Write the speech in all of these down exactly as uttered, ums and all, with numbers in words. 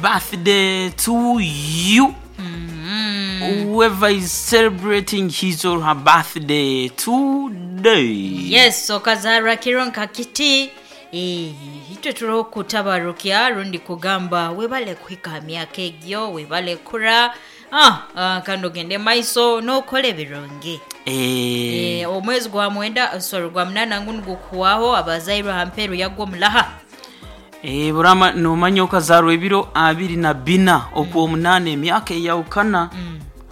Birthday to you, whoever is celebrating his or her birthday today. Yes, okazarwa kiro nka kiti. Eh, itwe turiho kutabarukya rundi kugamba webale kuhika ha myaka egyo, webale kura, ah, ah, kandi ogende maiso n'okora ebirungi. Eh, Eh, omwezi gwa mwenda, sorry, gwa munana ngu nigukuwaho abazairwe ha mperu yagwo mulaha. eh, burama nomanya okazarwa ebiro abiri na bina okwomunana, emyaka eyawukana,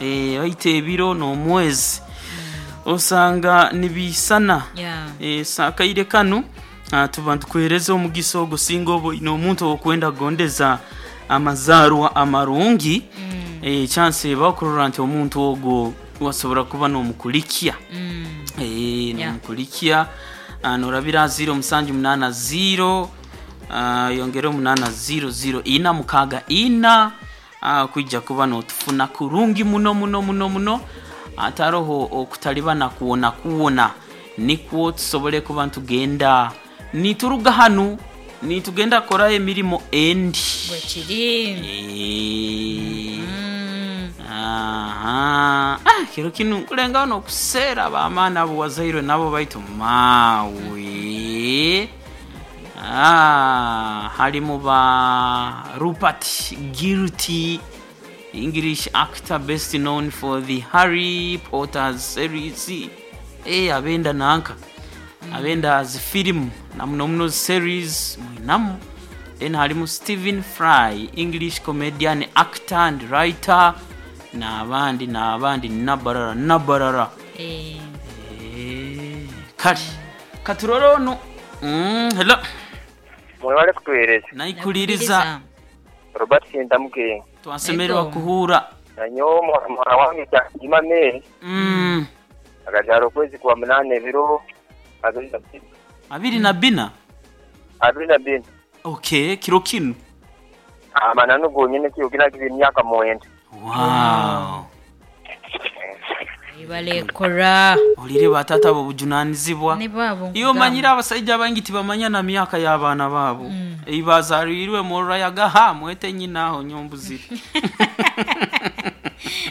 eh, baita ebiro n'omwezi osanga nibiisana. Yeah. Eh, sakaire kanu, ah, tuba ntukuhereza omugisa ogwo singa oba oine omuntu okwenda kugondeza amazarwa amarungi, mm. eh, chance eba okurora nti omuntu ogwo wasobora kuba n'omukulikya. Mm. Eh, Yeah. nomukulikya. Ah, norabira ziro musanju munana ziro, ah, yongere omunana ziro ziro ina mukaga ina, ah, kwijja kuba notufuna kurungi muno muno muno muno, ataroho okutalibana kuwona kuwona, nikwo tusobole kuba ntugenda nituruga hanu nitugenda korayo emirimo endi. Bwekiri. Eh, Mm. aha. Ah, kiro kinu nkulengaho nokuseera bamaani abo wazairwe nabo baitu mawe. Ah, halimu ba Rupert Guilty, English actor best known for the Harry Potter series. Eh, abenda nanka abenda zifilimu na muno muno series mwinamu. Then halimu Stephen Fry, English comedian, actor and writer, n'abandi n'abandi nabarara nabarara. Eh, Eh, kale katurore ono. Mm, hello. Mwebale kutuhereza. Naikuliriza. Robert Sentamuke. Twasemererwa Ego. kuhura. Nanyo muhara wange Jima Mary mm, akazaara okwezi kwa munana ebiro abiri na bina. Abiri na bina. Abiri na bina. Okay, kiro kinu. Amananu gonyene kiro kinagize emyaka mwenda. Wow. Webale kura. Olire batata abo bujunanizibwa. Ni babo. Iyo manyire abasajja bangi tibamanya na myaka y'abaana baabo, mm. Ebazalirwe murayagaha mwete nyina aho nyombuzire.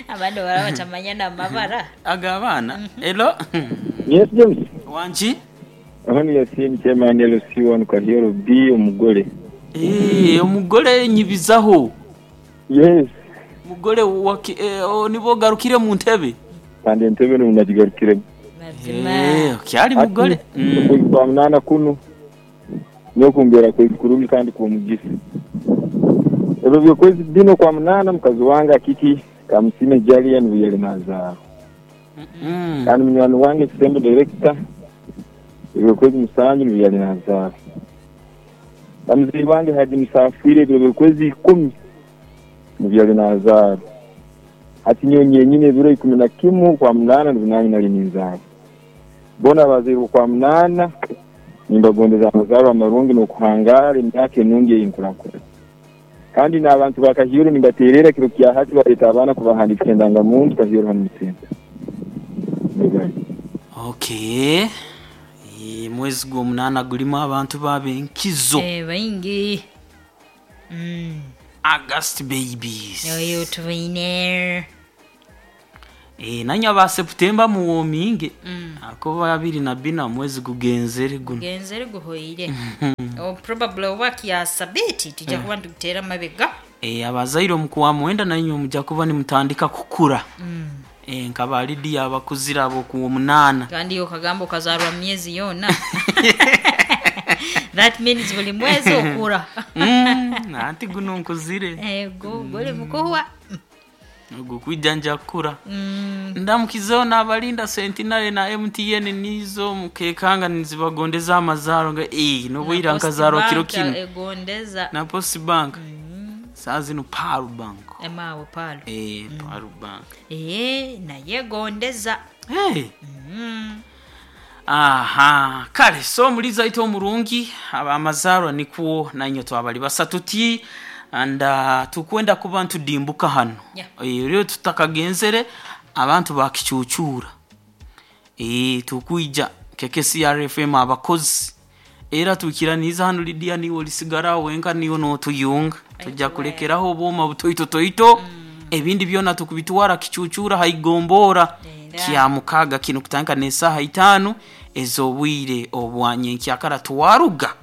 Abandi bara batamanya n'amabara. Aga abaana elo. Yes, James. Wangi. Aho ni Yasin Chairman L C one Kahioro B omugole. Eh, omugole nyibizaho. Yes. Mugole waki, eh, oh, nibo garukire mu ntebe. Kandi entebe no nagigarukire. Mazima. Eh, kyali mugole. Mm. Okwezi kwa munana kuno niyo kumbera kwezi kurungi kandi kuba mugisa. Ebyo byokwezi bino kwa munana mukazi wange akiki kamusime Jalia nibuyele nazaaro. Mm. Kandi munywani wange Kisembe director ebyo kwezi musanju nibuyale nazaaro. Bamuzeyi wange Haji Musafiri ebyo byokwezi ikumi nibyali nazaaro. Hati nyo nyenyine ebiro ikumi na kimu kwa munana nibunanyi nali ninzaaro. Bona abazairwe kwa munana nimbagondeza amazaro amarungi n'okuhangara emyaka enungi ey'enkurakura. Kandi n'abantu ba Kahioro nimbaterera kiro kya hati baleeta abaana kubahandikisa endangamuntu Kahioro hanu mu senta. Mwebale. Okay. Eh, mwezi gw'omunana gulimu abantu babenkizo. Eh, baingi. Mm. August babies. Oyo tubaine. Eh, nanya ba September muwominge. Mm. Ako babiri na bina mwezi gugenzere guno. Genzere guhoire. Oh, probably work ya sabiti tujja kuba ntugutera mabega. Eh, abazaire omukuwa mwenda nainywe mujja kuba nimutandika kukura. Mm. Eh, nkaba Lidia abakuzira abo ku omunana. Kandi okagamba okazarwa myezi yona. That means buli mwezi okura. Mm, anti guno nkuzire. Ego gole mukuhwa. Ogwo kwijja nja kukura. Mm. Ndamukizeho n'abalinda Sentinel na M T N nizo mukekanga nizibagondeza amazaro nga eh nobwira Na Post nkazaro kiro Bank kino. egondeza. Na Post Bank. Saa zino Paru Bank. Emawe palo. Eh, Paru Bank. Eh, naye gondeza. Hey. Mm. Aha, kale so muliza ito omurungi abamazarwa nikwo nanyo twabali basatu ti and uh, tukwenda kuba ntudimbuka hano. Yeah. Eh, rero tutakagenzere abantu bakicucura, eh, tukwija keke C R F M abakozi era tukiraniza hano. Lidia niwe olisigara wenka niwe notuyunga. Tujja kulekeraho obwoma butoito toito, ebindi byona tukubitwara kicucura haigombora Era. kya mukaga kino kutandika n'esaaha itaano ez'obwire obwanyenkyakara twaruga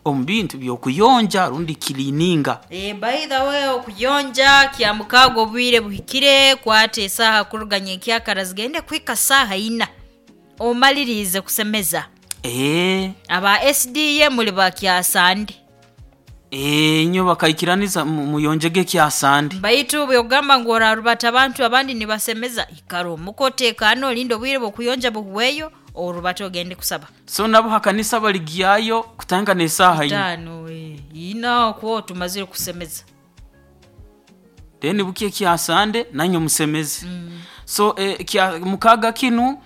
omu bintu by'okuyonja rundi kilininga. Eh, by the way, okuyonja kya mukaaga obwire buhikire, kwata esaaha kuruga nyenkyakara zigende kuhika saaha ina omalirize kusemeza. Eh, Aba S D A muli bakyasande. Eh, nyo bakaikiraniza mu- muyonjege kyasande. Baitu byogamba ngu orarubata abantu abandi nibasemeza, ikara omukoteekano olinde obwire bwokuyonja buhweyo orubata ogende kusaba. So nabo hakanisa baligyayo kutandika n'esaaha ina. Tano, eh, ina okwo tumazire kusemeza. Then buke kyasande nanyo musemeze. So eh, kya mukaga kinu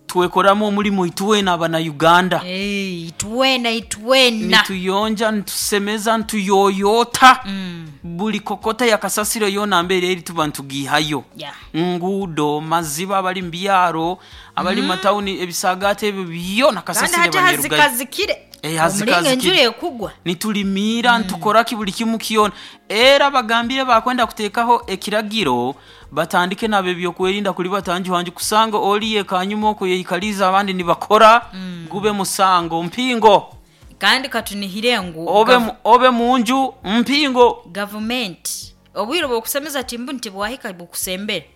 twekoramu omulimu itwena abana Uganda. Eh, itwena itwena. Nituyonja, nitusemeza, nituyoyota Mm, buli kokota ya kasasiro yona mbere eri tuba ntugihayo. Yeah. Ngudo maziba, abali mubyaro, abali mm. matawuni, ebisagate ebyo byona Kandi kasasiro hati banyerugayo. hazikazikire. Eh, hazikazikire. Omulinga enjura ekugwa. Nitulimira, ntukoraki buli kimu kyona. Era bagambire bakwenda kuteekaho ekiragiro batandike nabo ebyokwerinda kuli batanjuhanju kusanga oliye kanyuma okuyeikaliza abandi nibakora, gube musango mpingo. Kandi katunihire ngu Obe, gav- mu- obe munju mpingo. Gavumenti obwire bwokusemeza timbu nti bwahika bukusembere.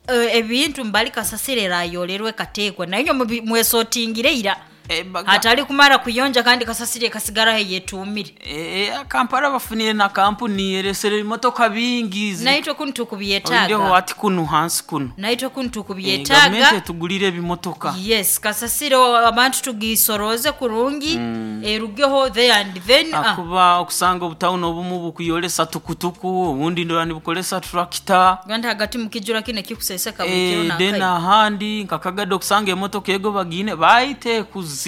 Eh, ebintu mbali kasasiro erayolerwe kateekwa naye mubi- mwesotingire ira. E, baga- Hatali kumara kuyonja kandi kasasiro ekasigaraho yetuumire. E, Kampala bafunire na kampuni eresere ebimotoka bingi zi- Naitwe kunu olindeho tukubyetaaga. ati kunu hansi kuno. Naitwe kunu Eh, gavumenti tukubyetaaga. etugulire ebimotoka. Yes, kasasiro abantu tugisoroze kurungi, erugeho there and then, ah. Akuba okusanga obutawuni obumu bukuyolesa tukutuku, obundi ndora nibukolesa turakita. Kandi hagati mukijura kino kikuseseka buli kiro. Eh, then Nakayi ahandi nkakagade okusanga emotoka ego bagine baite kuzire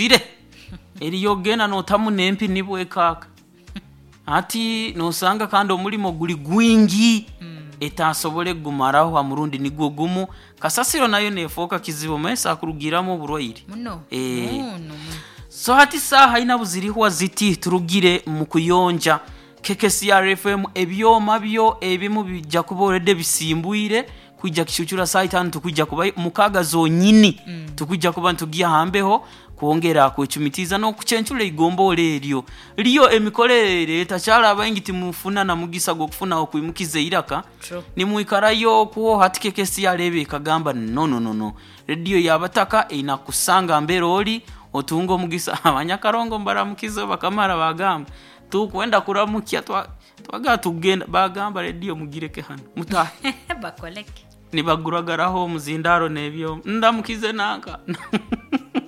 eriyo genda notamu nempi nibwekaka ati nosanga kandi omulimo guli gwingi etasobole gumaraho ha murundi nigwo gumu. Kasasiro nayo nefuuka kizibu maesa akurugiramu oburwaire. Muno. Eh. Muno muno. So hati saaha ina buzirihwa ziti turugire mu kuyonja K K C R F M. Ebyoma byo ebimu bijja kuba already bisimbwire kwijja kishuchura saa itano, tukujja kuba mukaga zonyini mm. tukujja kuba ntugiya hambeho kwongera kwechumitiza n'okucencula igombola eryo liyo emikorere etakyala abaingi timufuna na mugisa gw'okufuna okwimukiza eiraka. True. Nimwikarayo okuwo hati K K C R ebe ekagamba no no no no, rediyo yabataka einakusanga mbere oli otunga omugisa. Abanyakarongo mbaramukiza bakamara bagamba tukwenda kuramukya twa- twaga tugenda bagamba rediyo mugireke hano mutahe. Bakoleke. Nibaguragaraho omuzindaro nebyo ndamukize nanka.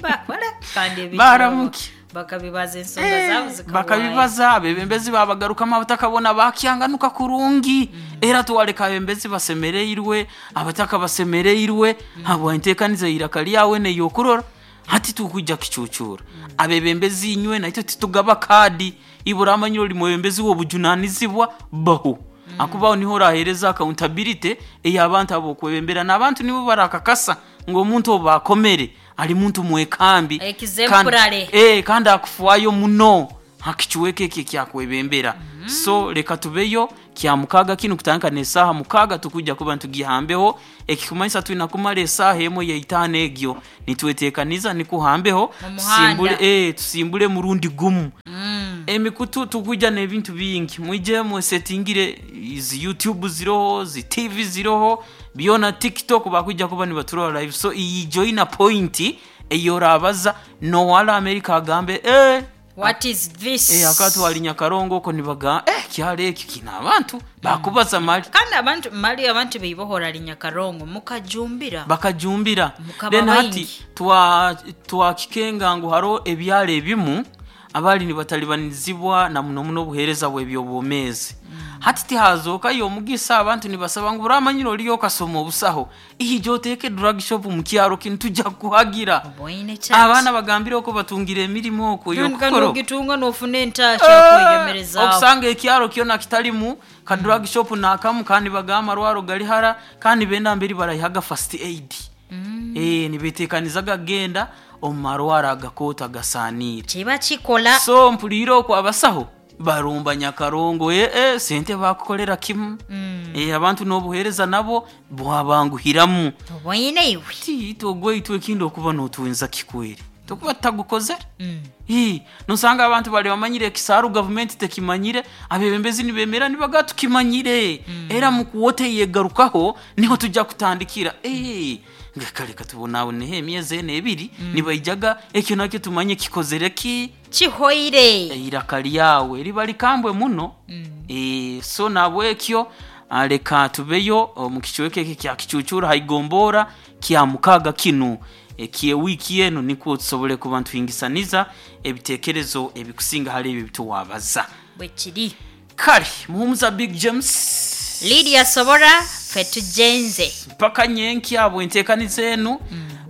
Bakoleke kandi ebintu Baramuki. bakabibaza ensonga zaabo zikawayo. Bakabibaza abebembezi babagarukamu abataka bona bakyanganuka kurungi. Era tuwaleka abembezi basemereirwe, abataka basemereirwe habwa enteekaniza eiraka lyawe neyokurora. Hati tukujja kicucura abebembezi inywe naitwe titugaba kadi ibura amanyiro oli mwebembezi w'obujunanizibwa bahu akubaho niho orahereza accountability ey'abantu abokwebembera n'abantu nibo barakakasa ng'omuntu obo akomere ali muntu mwekambi. Exemplary. Kandi- eh, kandi akufuayo muno hakichuweke ekyo ekyakwebembera. So leka tubeyo kya mukaga kinu kutandika n'esaaha mukaga tukujja kuba ntugihambeho, ekikumanyisa twina kumara esaaha emwe yaitaano egyo nitweteekaniza nikuhambeho. Mu muhanda. Tusimbule, eh, tusimbule murundi gumu Mm. emikutu tukujja n'ebintu bingi mwije mwesetingire izi YouTube ziroho, zi T V ziroho byona, TikTok bakujja kuba nibaturora live. So iyi joina point eyorabaza nowala America agambe eh, What is this? eh, akatwali Nyakarongo oko nibaga eh, kyalo ekyo kina abantu bakubaza mali. Kandi abantu mali abantu beibohora linyakarongo mukajumbira. Bakajumbira. Mukaba Then hati baingi. twa twakikenga ngu haro ebyalo ebimu abali nibatalibanizibwa na muno muno obuheereza bw'ebyobwomeezi. Hati tihazookayo omugisa abantu nibasaba ngu buramanyire oliyo okasoma obusaho ihijo oteeke drug shop mu kyaro kinu tujja kuhagira. Oboine chat. Abaana bagambire oko batungira emirimu okwo ey'okukora. Ogitunga nofuna entasha okweyemerezaawo. Okusanga ekyaro kyona kitalimu ka drug shop nakamu kandi bagamba amarwaro gari hara kandi benda mberi barayihaga first aid mm. eh, nibetekanizaga genda omu marwaro agakoota gasaaniire. Kiba kikola. So mpulire okwo abasaho Barumba Nyakarongo, eh, eh, sente bakukolera kimu. Mm. Eh, abantu n'obuheereza nabo bwabanguhiramu. Obwoine iwe. Ti itwe ekindi okuba n'otwenza kikwere tokuba tutagukozere. Mm. Ii, nosanga abantu bali bamanyire ekisaaru, gavumenti tekimanyire, abebembezi nibemera nibaga tukimanyire, era mukuwote yegarukaho niho tujja kutandikira. Eh, nga kale katubonaboneho emyezi ena ebiri nibaijaga ekyo nakyo tumanye kikozere ki. Kihoire. Eiraka lyawe liba likambwe muno. Mm. Eh, so nabwekyo ah, leka tubeyo omu kicweka eki kya Kicucura haigombora kya mukaga kinu eky'ewiiki enu, nikwo tusobole kuba ntuhingisaniza ebitekerezo ebikusinga hali ebyo bituwabaza. Bwekiri. Kale Muhumuza Big James, Lydia Sobora, ffe tujenze. Mpaka nyenkya bwenteekaniza enu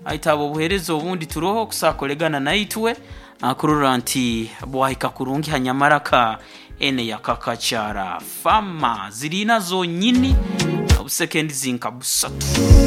aitaba obuheereza obundi turoho kusakolegana naitwe akurora nti bwahika kurungi hanyamaraka ene yakakakyara fama zirina zonyini obusekendi zinka busatu.